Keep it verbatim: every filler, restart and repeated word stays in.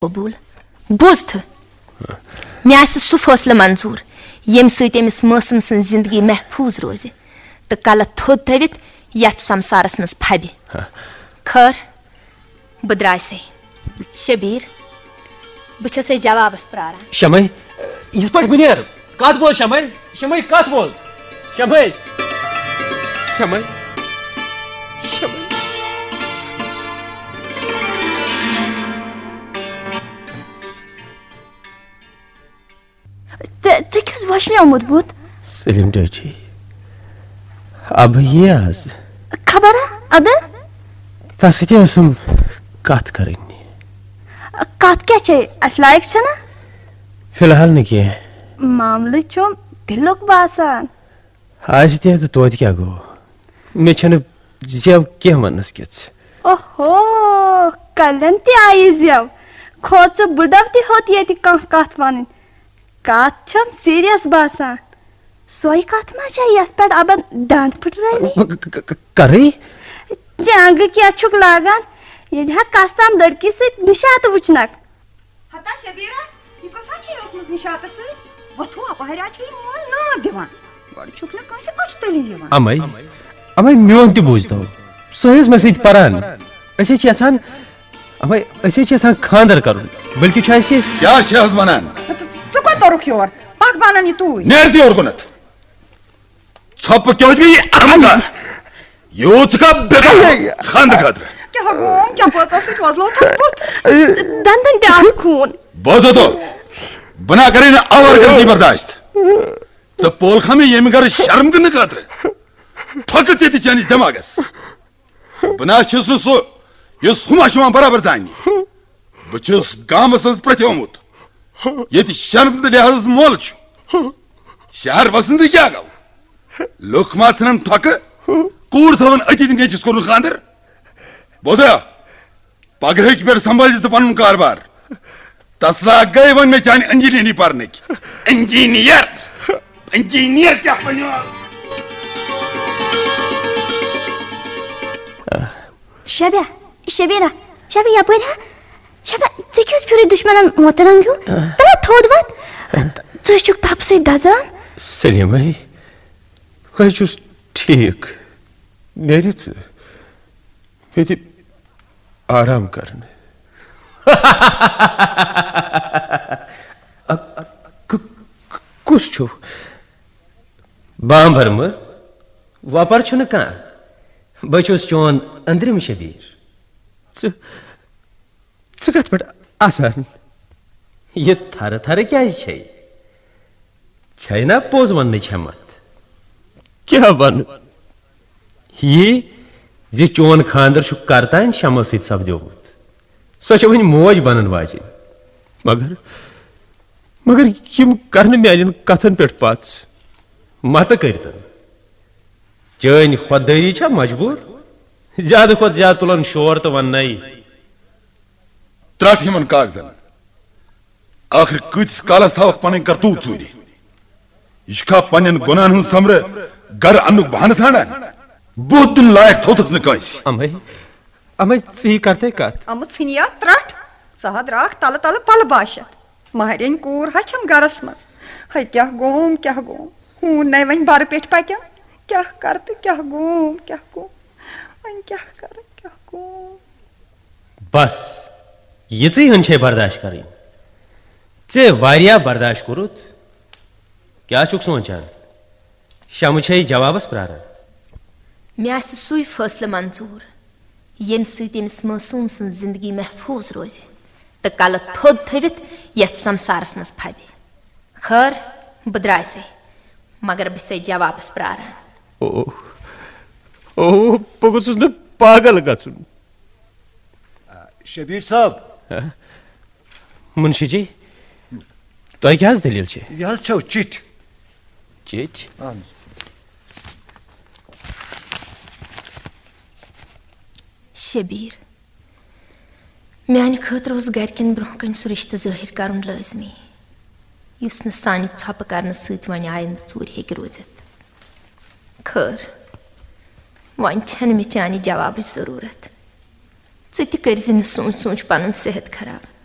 قبول۔ بوز تہٕ، مےٚ آسہِ سُہ فٲصلہٕ منظوٗر، ییٚمہِ سۭتۍ أمِس مٲسٕم سٕنٛز زِندگی محفوٗظ روزِ تہٕ کلہٕ تھوٚد تھٲوِتھ یتھ سمسارس منٛز پھبہِ۔ ہا۔ خٲر، بہٕ درٛایسے۔ شبیٖر، بہٕ چھسے جوابس پراران۔ شمے، یِتھ پٲٹھۍ بہٕ نیرٕ۔ کتھ بوز شمے؟ شمے، کتھ بوز؟ شمے۔ شمے۔ شمے۔ ژےٚ، ژےٚ کیٛاہ اوس وۄشلیومُت بُتھ؟ سلیٖم ڈیڈی، ابہٕ یی آز۔ خبر ہا، ادٕ؟ تس سۭتۍ ٲسٕم کتھ کرٕنۍ۔ کتھ کیٛاہ چھے؟ اسہِ لایق چھنا؟ فی الحال نہٕ کینٛہہ۔ معاملہٕ چھُم دِلُک باسان۔ آسہِ تہِ تہٕ توتہِ کیٛاہ گوٚو؟ مےٚ چھَنہٕ زٮ۪و کینٛہہ وننس کِژھ۔ اوہو، کلٮ۪ن تہِ آیہِ زٮ۪و۔ کھو ژٕ بٕڈو تہِ ہیوٚت ییٚتہِ کانٛہہ کتھ ونٕنۍ۔ کتھ چھم سیریس باسان۔ سۄے کتھ ما چھےٚ یتھ پٮ۪ٹھ ابن دند پھٕٹرٲومٕتۍ؟ ک-، ک-، ک-، کرٕے؟ چنگہٕ کیٛاہ چھُکھ لاگان؟ ییٚلہِ ہا کس تام لڑکی سۭتۍ نشاطہٕ وٕچھنکھ۔ ہتا شبیرہ، یہِ کۄس حظ چھے ٲسمٕژ نشاطس سۭتۍ؟ وۄتھو اپہریا چھُ یہِ میون ناد دِوان۔ گۄڈٕ چھُکھ نہٕ کٲنٛسہِ اچھتلی یِوان۔ امے، امے میون تہِ بوٗزتو۔ سۄ ٲس مےٚ سۭتۍ پران۔ أسۍ حظ چھِ یژھان، امے، أسۍ حظ چھِ یژھان خانٛدر کرُن۔ بلکہِ چھُ اَسہِ کیٛاہ چھِ حظ ونان؟ ژٕ، ژٕ کوٚت توٚرُکھ یور؟ پکھ بہٕ انن یہِ توٗرۍ۔ نیر تہِ یور کُنتھ۔ ژھۄپہٕ کیٛاہ گٔیہِ احمقا؟ یوٗت چھُکھا بے خانٛدرٕ خٲطرٕ؟ کیٛاہ گوم؟ چپٲژو سۭتۍ وۄزلوو تس بُتھ۔ دندن تہِ آو خوٗن۔ بوزو تو، بہٕ نا کرے نہٕ آوار گردی برداشت۔ ژٕ پولکھا مےٚ ییٚمہِ گرٕ شرم گنٛدنہٕ خٲطرٕ؟ تھۄکہٕ ژےٚ تہِ چٲنِس دٮ۪ماغس۔ بہٕ نا چھُس نہٕ سُہ یُس ہُم چھُ یِوان برابر زاننہِ۔ بہٕ چھُس گامس منٛز پرٛتھیومُت، ییٚتہِ شرم تہٕ لحاظس مۄل چھُ۔ شہر وسنہٕ سۭتۍ کیٛاہ گوٚو؟ لُکھ ما ژھٕنن تھۄکہٕ؟ کوٗر تھاوان أتی تہٕ نیٚچوِس کوٚرُن خانٛدر؟ بوزا، پگہٕکۍ پٮ۪ٹھ سنبھٲلۍ ژٕ پنُن کاربار۔ تسلا گٔے وۄنۍ مےٚ چانہِ انجینئرنگ پرنٕکۍ۔ انجینئر، انجینئر کیٛاہ بنیو؟ شبیہ، شبیرہ، شبیہ، یپٲرۍ ہا۔ شبیہ، ژےٚ کیٛاہ اوس پھیورٕے دُشمنن موترن ہیوٗ؟ تَلہ تھوٚد وۄتھ۔ ژٕ چھُکھ تپہٕ سۭتۍ دزان۔ سلیمے، بہٕ چھُس ٹھیٖک۔ نیرِ ژٕ۔ مےٚ دِ آرام کرنہٕ۔ ک-، ک-، کُس چھُ؟ بامبر مہٕ، وۄپر چھُنہٕ کانٛہہ۔ بہٕ چھُس چون أنٛدرِم شبیٖر۔ ژٕ، ژٕ کتھ پٮ۪ٹھ آسان؟ یہِ تھرٕ تھرٕ کیٛازِ چھے؟ چھے نا پوٚز وننٕچ ہٮ۪متھ؟ کیٛاہ ونہٕ؟ یی زِ چون خانٛدر چھُ کرتانۍ شمس سۭتۍ سپدیومُت۔ سۄ چھےٚ وۄنۍ موج بنن واجِنۍ۔ مگر، مگر یِم کرنہٕ میانٮ۪ن کتھن پٮ۪ٹھ پژھ۔ متہٕ کٔرتن۔ چٲنۍ خۄددٲری چھا مجبوٗر؟ زیادٕ کھۄتہٕ زیادٕ تُلن شور تہٕ وننَے۔ ترٛٹھ یِمن کاغذن۔ ٲخٕر کۭتِس کالس تھاوکھ پنٕنۍ کرتوٗت ژوٗرِ؟ یہِ چھُکھا پننٮ۪ن گۄناہن ہُنٛد سۄمبرٕ گرٕ اننُک بہانہٕ ژھانڈان؟ بُتھ دِنہٕ لایق تھوٚوتھس نہٕ کٲنٛسہِ۔ امے، امے ژٕے کرتے کتھ۔ امہٕ ژھٕنیا ترٛٹھ، ژٕ ہا درٛاکھ تلہٕ تلہٕ پلہٕ باشتھ۔ مہرٮ۪نۍ کوٗر ہا چھم گرس منٛز۔ ہے کیٛاہ گوم، کیٛاہ گوم؟ ہوٗن نے وۄنۍ برٕ پٮ۪ٹھ پکیو۔ کیٛاہ کرٕ تہٕ کیٛاہ گوم، کیٛاہ گوم؟ وۄنۍ کیٛاہ کرٕ، کیٛاہ گوم؟ بس، یِژٕے ہن چھے برداشت کرٕنۍ۔ ژےٚ واریاہ برداشت کوٚرُتھ۔ کیٛاہ چھُکھ سونچان؟ شمہٕ چھے جوابس پراران۔ مےٚ آسہِ سُے فٲصلہٕ منظوٗر، ییٚمہِ سۭتۍ أمِس معصوٗم سٕنٛز زندگی محفوٗظ روزِ تہٕ کلہٕ تھوٚد تھٲوِتھ یتھ سمسارس منٛز پھبہِ۔ خٲر، بہٕ درٛایسے، مگر بہٕ چھسے جوابس پراران۔ او، او، بہٕ گوٚژھُس نہٕ پاگل گژھُن۔ شبیٖر صٲب۔ ہہ؟ مُنشی جی، تۄہہِ کیٛاہ حظ دٔلیٖل چھِ؟ یہِ حظ چھَو چِٹھۍ۔ چِٹھۍ؟ اَہَن حظ۔ شبیٖر، میٛانہِ خٲطرٕ اوس گرِکٮ۪ن برٛونٛہہ کنہِ سُہ رِشتہٕ ظٲہِر کرُن لٲزمی، یُس نہٕ سانہِ ژھۄپہٕ کرنہٕ سۭتۍ وۄنۍ آیندٕ ژوٗرِ ہیٚکہِ روٗزِتھ۔ خٲر، وۄنۍ چھَنہٕ مےٚ چانہِ جوابٕچ ضروٗرت۔ ژٕ تہِ کٔرۍ زِ نہٕ سونٛچ سونٛچ پنُن صحت خراب۔